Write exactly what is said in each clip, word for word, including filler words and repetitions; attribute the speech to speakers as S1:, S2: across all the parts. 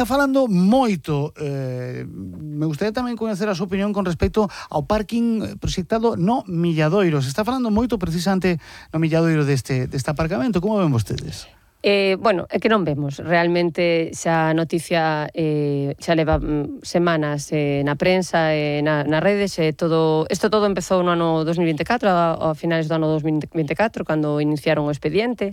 S1: Está falando moito, eh, me gustaría tamén coñecer a súa opinión con respecto ao parking proxectado no Milladoiro. Se está falando moito precisamente no Milladoiro deste, deste aparcamento. Como ven vostedes?
S2: Eh, bueno, é que non vemos. Realmente xa a noticia eh, xa leva mm, semanas eh, na prensa, eh, na, nas redes, eh, todo, isto todo empezou no ano dos mil vinte e catro, a, a finales do ano dos mil vinte e catro, cando iniciaron o expediente.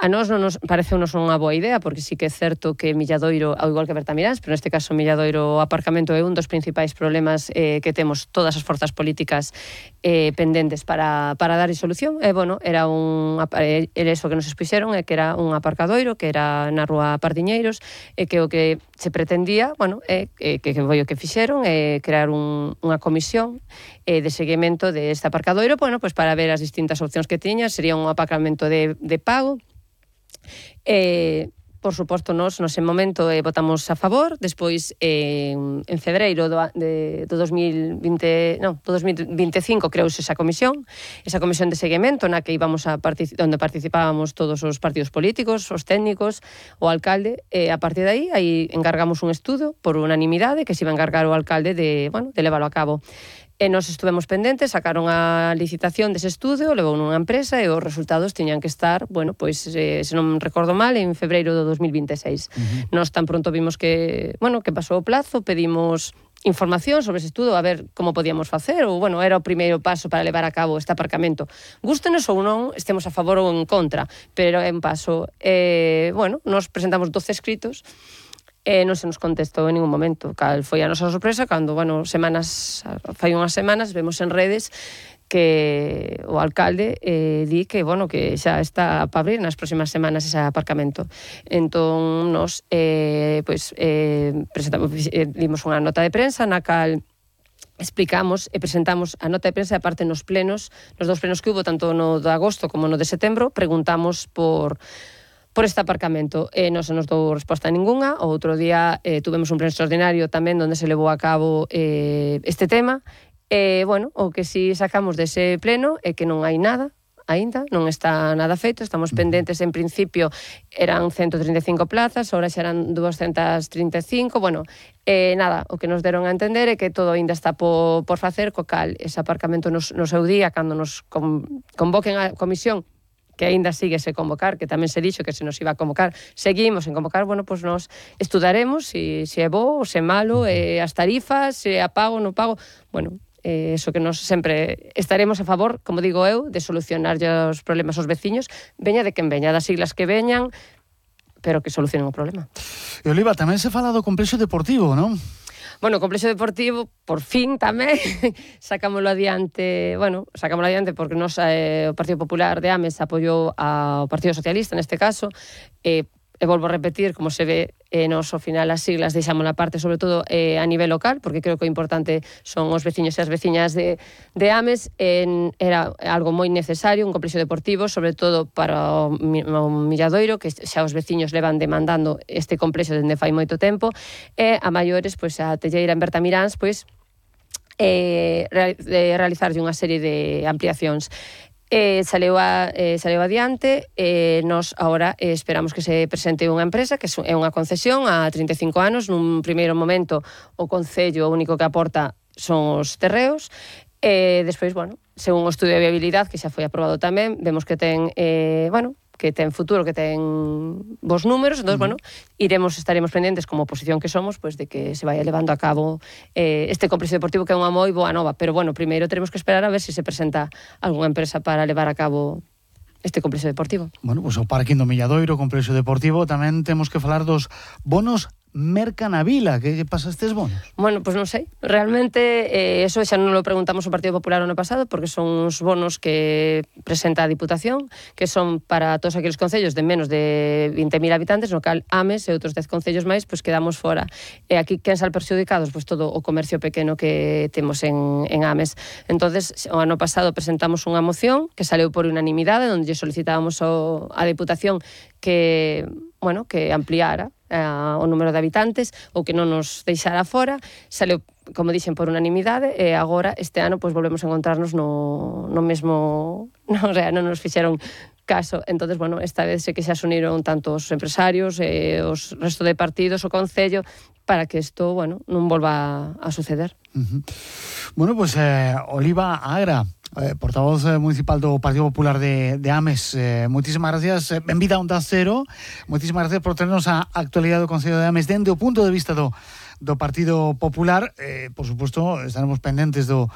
S2: A nós non nos parece unos unha boa idea, porque sí que é certo que Milladoiro, ao igual que Bertamiráns, pero neste caso Milladoiro aparcamento é un dos principais problemas eh, que temos todas as forzas políticas eh, pendentes para, para dar solución. E, bueno, era un, era eso que nos expuxeron, é que era un aparcadoiro, que era na rúa Pardiñeiros, e que o que se pretendía, bueno, é que, que foi o que fixeron, é crear un, unha comisión eh, de seguimento deste aparcadoiro, bueno, pues para ver as distintas opcións que tiña. Sería un aparcamento de, de pago. Eh, por suposto, nos, nos en momento eh, votamos a favor. Despois, eh, en febreiro do, de, do dos mil vinte, no, do dos mil vinte e cinco creouse esa comisión, esa comisión de seguimento na que íbamos a partic- onde participábamos todos os partidos políticos, os técnicos, o alcalde, e a partir de aí, aí encargamos un estudo por unanimidade que se iba a encargar o alcalde de, bueno, de leválo a cabo. E nos estuvemos pendentes, sacaron a licitación dese estudio, levou nunha empresa e os resultados tiñan que estar, bueno, pois, eh, se non recordo mal, en febreiro do dos mil vinte e seis. Uh-huh. Nos tan pronto vimos que, bueno, que pasou o plazo, pedimos información sobre ese estudo, a ver como podíamos facer, ou, bueno, era o primeiro paso para levar a cabo este aparcamento. Gústenos ou non, estemos a favor ou en contra, pero é un paso. Eh, bueno, nos presentamos doce escritos, e non se nos contestou en ningún momento. Cal foi a nosa sorpresa cando, bueno, semanas, fai unhas semanas, vemos en redes que o alcalde eh, di que, bueno, que xa está para abrir nas próximas semanas ese aparcamento. Entón, nos, eh, pois, eh, presentamos, eh, dimos unha nota de prensa na cal explicamos e presentamos a nota de prensa, e aparte nos plenos, nos dos plenos que hubo, tanto no de agosto como no de setembro, preguntamos por por este aparcamento. Eh, non se nos dou resposta ninguna. O outro día eh, tuvemos un pleno extraordinario tamén onde se levou a cabo eh, este tema. E, eh, bueno, o que si sacamos dese pleno é que non hai nada aínda, non está nada feito. Estamos pendentes, en principio eran ciento trinta e cinco plazas, ahora xa eran doscientas trinta e cinco. Bueno, eh, nada, o que nos deron a entender é que todo aínda está por, por facer, co cal ese aparcamento nos, no seu día, cando nos con, convoquen a comisión, que aínda sigue se convocar, que tamén se dixo que se nos iba a convocar, seguimos en convocar, bueno, pois pues nos estudaremos se si, si é bo ou se é malo, eh, as tarifas, se a pago ou non pago, bueno, eh, eso que nos sempre estaremos a favor, como digo eu, de solucionar os problemas aos veciños, veña de quen veña, das siglas que veñan, pero que solucionen o problema.
S1: E Oliva, tamén se fala do complexo deportivo, non?
S2: Bueno, o complexo deportivo, por fin tamén, sacámoslo adiante, bueno, sacámoslo adiante porque nos, eh, o Partido Popular de Ames apoiou ao Partido Socialista, neste caso, e, e volvo a repetir, como se ve, eh, nos, ao final, as siglas deixamos a parte, sobre todo eh, a nivel local, porque creo que o importante son os veciños e as veciñas de, de Ames. En, era algo moi necesario, un complexo deportivo, sobre todo para o, o Milladoiro, que xa os veciños levan demandando este complexo dende fai moito tempo, e a maiores, pois, a Telleira en Bertamiráns, pois, eh, realizarlle unha serie de ampliacións. Eh, saleu, a, eh, saleu adiante, e eh, nos agora eh, esperamos que se presente unha empresa que é unha concesión a trinta e cinco anos. Nun primeiro momento o Concello o único que aporta son os terreos, e eh, despois, bueno, según o estudio de viabilidade que xa foi aprobado tamén, vemos que ten, eh, bueno, que ten futuro, que ten bons números. Entón, uh-huh. bueno, iremos, estaremos pendentes como oposición que somos, pois, de que se vaya levando a cabo eh, este complexo deportivo, que é unha moi boa nova, pero, bueno, primeiro teremos que esperar a ver se si se presenta algunha empresa para levar a cabo este complexo deportivo.
S1: Bueno, pois pues, o parking do Milladoiro, o complexo deportivo, tamén temos que falar dos bonos Merca na Vila. Que lle pasa a estes bonos?
S2: Bueno, pois pues non sei. Realmente, eh, eso xa non lo preguntamos ao Partido Popular o ano pasado, porque son uns bonos que presenta a Diputación, que son para todos aqueles concellos de menos de vinte mil habitantes, no cal Ames e outros dez concellos máis, pois pues, quedamos fora. E aquí, quen sal perxudicados? Pois pues, todo o comercio pequeno que temos en, en Ames. Entonces, o ano pasado presentamos unha moción que saleu por unanimidade, onde lle solicitábamos ao, a Diputación que, bueno, que ampliara Uh, o número de habitantes, ou que non nos deixara fora. Saleu, como dixen, por unanimidade, e agora, este ano, pois volvemos a encontrarnos no, no mesmo... No, o sea, non nos fixeron caso. Entonces, bueno, esta vez sé que xa se uniron tanto os empresarios e eh, os resto de partidos, o Concello, para que isto, bueno, non volva a suceder.
S1: Uh-huh. Bueno, pues eh, Oliva Agra, eh, portavoz eh, municipal do Partido Popular de, de Ames, eh, moitísimas gracias, eh, benvida a Onda Cero, moitísimas gracias por tenernos a actualidade do Concello de Ames dende o punto de vista do, do Partido Popular. Eh, por suposto, estaremos pendentes do,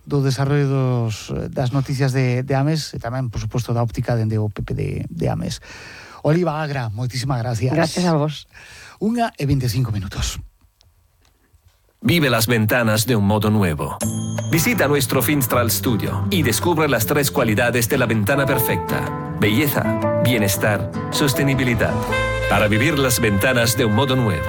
S1: do desarrollo dos, das noticias de, de Ames e tamén, por suposto, da óptica dende o P P de, de Ames. Oliva Agra, moitísimas gracias.
S2: Gracias a vos.
S1: Una e veinticinco minutos.
S3: Vive las ventanas de un modo nuevo. Visita nuestro Finstral Studio y descubre las tres cualidades de la ventana perfecta: belleza, bienestar, sostenibilidad. Para vivir las ventanas de un modo nuevo.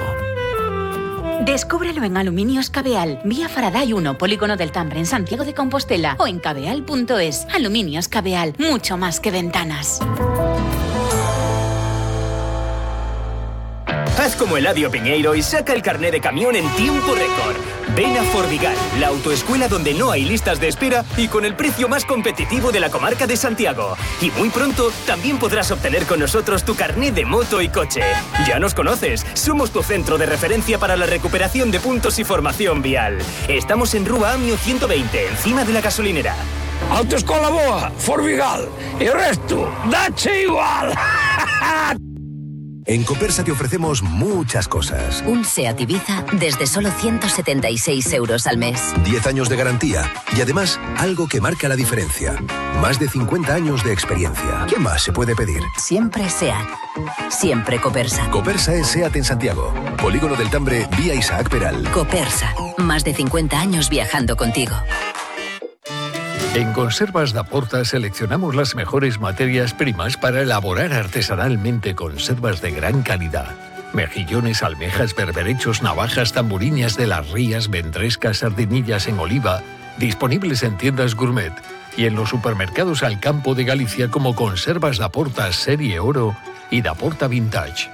S4: Descúbrelo en Aluminios Cabeal, vía Faraday uno, Polígono del Tambre, en Santiago de Compostela, o en cabeal punto es. Aluminios Cabeal, mucho más que ventanas.
S5: Haz como Eladio Piñeiro y saca el carné de camión en tiempo récord. Ven a Fordigal, la autoescuela donde no hay listas de espera y con el precio más competitivo de la comarca de Santiago. Y muy pronto también podrás obtener con nosotros tu carné de moto y coche. Ya nos conoces, somos tu centro de referencia para la recuperación de puntos y formación vial. Estamos en Rúa Amio ciento veinte, encima de la gasolinera.
S6: Autoescola boa, Fordigal, y el resto, dache igual.
S7: En Copersa te ofrecemos muchas cosas.
S8: Un SEAT Ibiza desde solo ciento setenta y seis euros al mes.
S7: diez años de garantía y además algo que marca la diferencia. Más de cincuenta años de experiencia. ¿Qué más se puede pedir?
S8: Siempre SEAT. Siempre Copersa.
S7: Copersa es SEAT en Santiago. Polígono del Tambre, vía Isaac Peral.
S8: Copersa. Más de cincuenta años viajando contigo.
S6: En Conservas da Porta seleccionamos las mejores materias primas para elaborar artesanalmente conservas de gran calidad. Mejillones, almejas, berberechos, navajas, tamburiñas de las rías, ventrescas, sardinillas en oliva, disponibles en tiendas gourmet y en los supermercados al campo de Galicia como Conservas da Porta Serie Oro y da Porta Vintage.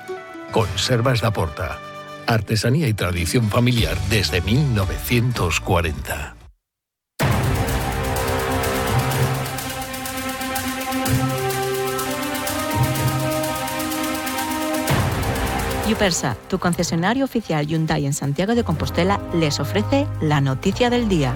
S6: Conservas da Porta. Artesanía y tradición familiar desde mil novecientos cuarenta.
S9: Yupersa, tu concesionario oficial Hyundai en Santiago de Compostela, les ofrece la noticia del día.